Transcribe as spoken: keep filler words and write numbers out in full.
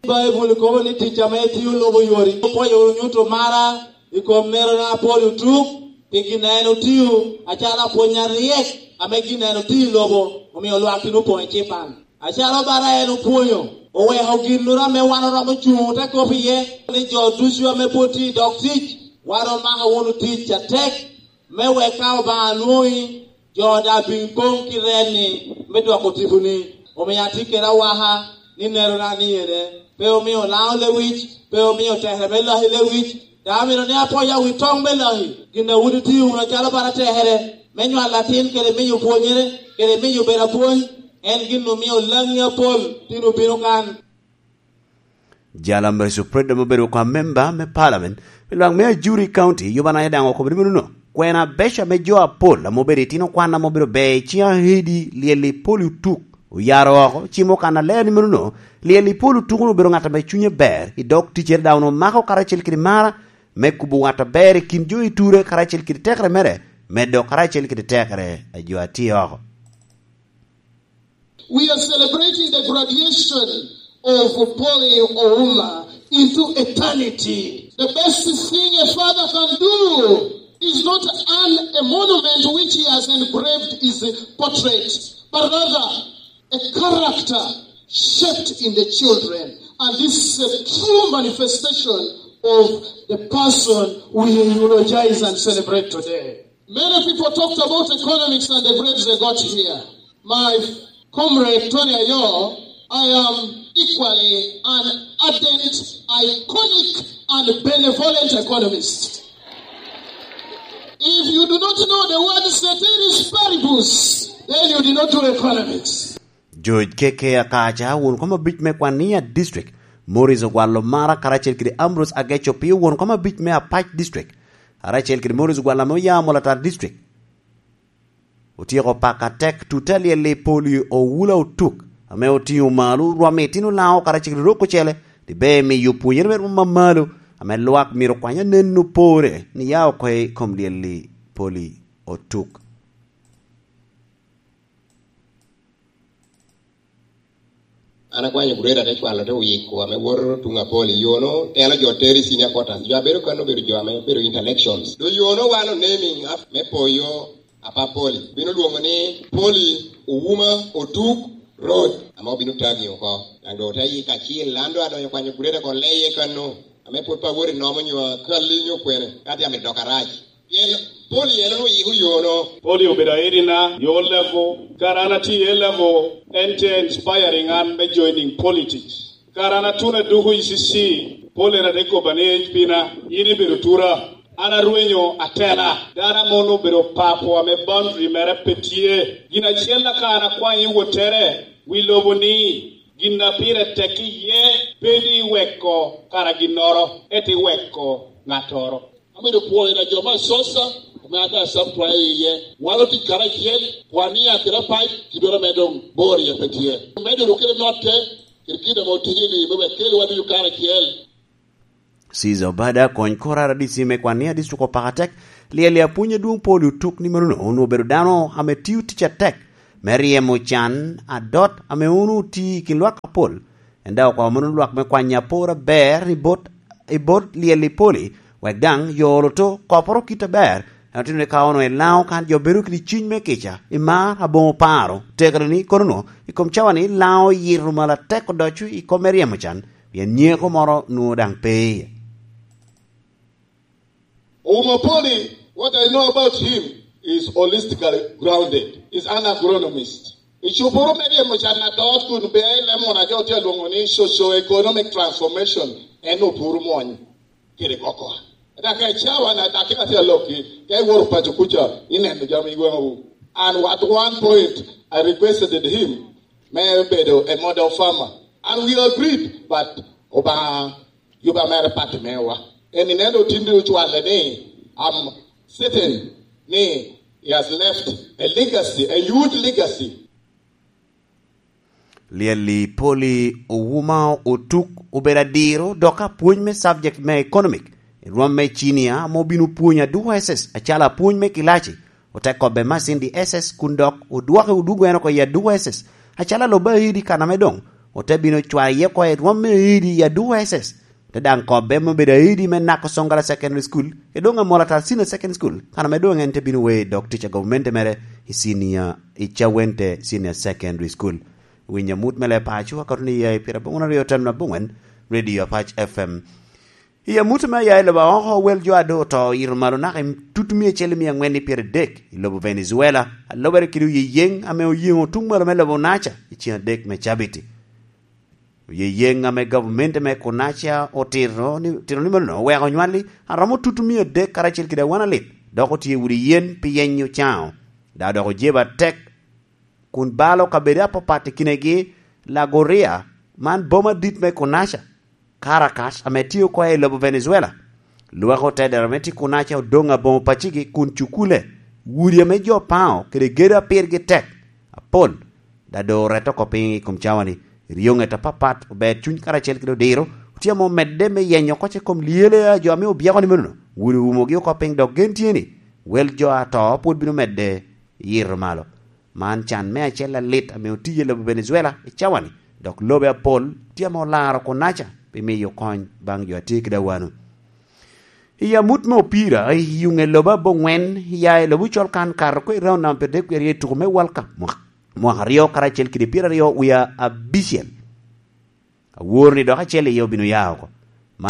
Baibul kobo ni tic ame etio lobo yori. Opwoyo nyuto mara i kom nerona Apolo Otuk, pi gin a en otio acalo apwony aryek ame gin a en otio i lobo omio lwak tin opoŋ ecipan. Acalo bara en opwonyo, oweko ginnoro ame wan oromo cuŋ te kop iye, ni jo ducu ame pwod tye i dog tic, wan omako wunu tic atek, me wek ka Obaŋa lwoŋi, jo daŋ bin poŋ ki rel-ni me dwoko tiponi. Omio atye kede awaka ni nerona ni ene, pe omio Lango lewic, pe omio tekere me laki lewic, daŋ amito ni aponya wi toŋ me laki, gin a wun itio wunu acalo bala tekere, me nywalo atin kede miyo pwonyere, kede miyo bedo apwony, en gin omio Langi apol tin obino kan. Jal a Mary Supret ame obedo oko amemba me palamen pi lwak me Ajuri County, Yubana Edang, okobo ni menono, kwena abeco ame jo apol ame obedo itino kwan ame obedo ber i ciŋ ahedi Lyeli Poli Otuk oyaro oko, cimo kan aler ni menono, Lyeli Poli Otuk onwoŋo obedo ŋat ame cunye ber i dog ticcere, dok onwoŋo mako karacel kede mara me kubo ŋat aber i kin jo i ture karacel kede tekere mere, medo karacel kede tekere a jo a tye oko. We are celebrating the graduation of Polly Ouma into eternity. The best thing a father can do is not an, a monument which he has engraved his portrait, but rather a character shaped in the children. And this is a true manifestation of the person we eulogize and celebrate today. Many people talked about economics and the grades they got here. My comrade Tony Ayo, I am equally an ardent, iconic, and benevolent economist. If you do not know the word ceteris paribus, then you did not do economics. George K K Akaca, won kom abic me Kwania District, Morris Ogwalo Mara karacel kede Ambrose Ageco Pio, won kom abic me Apac District, karacel kede Morris Ogwalo ame oya Molatar District. Otyeko pako atek tutte a Lyeli Poli Owula Otuk, ame otiŋo malo rwom i itino Lango karacel kede rok ocele, diber miyo pwonyere me rwom amalo, ame lwak myero okwany anen opore ni ya oko i kom Lyeli Poli Otuk. An akwanyo grade ate cwalo te wiko ame woto tuŋ Apoli, yono telo jo tero i senior quarters. Jo abedo kan obedo jo ame obedo intellectuals. Do yono wan onaming af-, me poyo Apa Poli. Bino lwoŋo ni Poli Owuma Otuk Road, ame obino tagi oko. Daŋ do ote yiko acil, an do adonyo kwanyo grade oko leye kano, ame pwod pe awot i nomo nyo akalli nyo kwene, ka tye amito dok arac. Pien Poli en onwoŋo yiko yono. Poli obedo aidina, yo level. Kara an atye i A level, en te inspiring an me joining politics. Kara an atuno aduko E C C, Poli en ate kobba ni, "Ej pina, in ibedo tura." An arwenyo atela. Dano ame onwoŋo obedo papo ame boundary mere pe tye. Gin acel aka an akwanyo i wottere, wi lobo ni, gin a pire tek iye, pe ni iweko kara ginnoro, ento iweko ŋattoro. Abedo pwoyo na jo me Asosa, ame ata asam twayo iye. Walo tic karacel, kwania kede apac, kidoro me doŋ bor iye pe tye. Medo ru kede notte, kede kit ame otije ni, me wek kel wan ducu karacel. Caesar Obada, kony kor R D C me Kwania District, opako atek Lyeli apwony adwoŋ Poli Otuk ni menono onwoŋo obedo dano ame tio tic atek me ryemo can adot ame onwoŋo otio i kin lwak apol. En daŋ okwao mano lwak me kwanyo apor aber i bot, i bot Lyeli Poli, wek daŋ yo olo to koporo kit aber. En otito ni ka onwoŋo i Lango kan jo bedo kede cuny me kica, i mar, aboŋo paro, tekere ni kono nwoŋo i kom cawa ni Lango oyito malo atek odoco i kom me ryemo can, pien nyeko moro nwoŋo daŋ pe iye. Ouma Poli, what I know about him is holistically grounded. He's an agronomist. I cupuru me ryemo can adot kun be i lemon a jo tye alwoŋo ni socio-economic transformation, en opuro mony kede koko. Dak i cawa na dak ka tye alokki, ka iworo paco kuca, ineno jami i gweŋowu. And at one point, I requested him me bedo a model farmer. And we agreed, but Obaŋa Juba mere pati mewa. Eni neno tin ocwale ni, I'm certain ni he has left a legacy, a huge legacy. Lyeli Poli Owuma Otuk obedo adiro dok apwony me subject me economic i rwom me cinia ame obino pwonyo aduko S S acalo apwony me kilaci, ote kobbe Masindi S S kun dok odwoke odwogo en oko i aduko S S acalo alobo aidi kan ame doŋ Ote bino cwao iye oko i rwom me edi i Aduku S S, te daŋ kobbe me bedo aedi me Nako Songala Secondary School, i doŋ Amolatar Senior Secondary School, kan ame doŋ en te bino wei dok tic a gavumenti mere i Senior, i Cawente Senior Secondary School. Winyo amut me leb paco, akato ni ya i pira bongwen aryo ten na bongwen, Radio Apac F M. I amut ame aya i lobo a oko, wel jo a doŋ oto oyito malo naka i tut mia acel i mia aŋwen i pyeradek i lobo Venezuela, a lobere kede oyeyeŋ ame oyeŋo tuŋ malo me lobo Naca i cen adek me cabiti. Oyeyeŋ ame gavumenti me Kunaca otito ni, tito ni mano oweko onywalli a romo tut mia adek karacel kede awan alit, dok otye i udi yen pi yenyo caŋo, dok dok ojeba atek kun balo kabedo apapat i kinegi, Lagoria, man boma dit me Kunaca, Caracas, ame tye oko i lobo Venezuela. Lwak otedero me tye Kunaca odoŋ aboŋo pacigi kun cukule, udi ame jo paŋo kede gedo a pirgi tek apol, da doŋ orette oko piny i kom cawa-ni. Ryoŋet apapat, ober cuny karacel kede odiro, otye ame omedde me yenyo oko i kom lyele a jo ame obyeko ni menono, udi oumogi oko piny, dok gen tye ni wel jo ato pwod bino medde yito malo. Man can me acel alit ame otiye i lobo Venezuela i cawa-ni, dok lobe apol tye ame olaro Kunaca pi miyo kony baŋ jo a tye kede awano. I amut me opira, i yuŋe lobo aboŋwen, ya i lobo Colkan kato oko i raun namba pyeradek wie aryo i tuko me World Cup mwaka, mwaka aryo karacel kede pyeraryo wie abicel. Awor ni dok acel iye obino ya oko.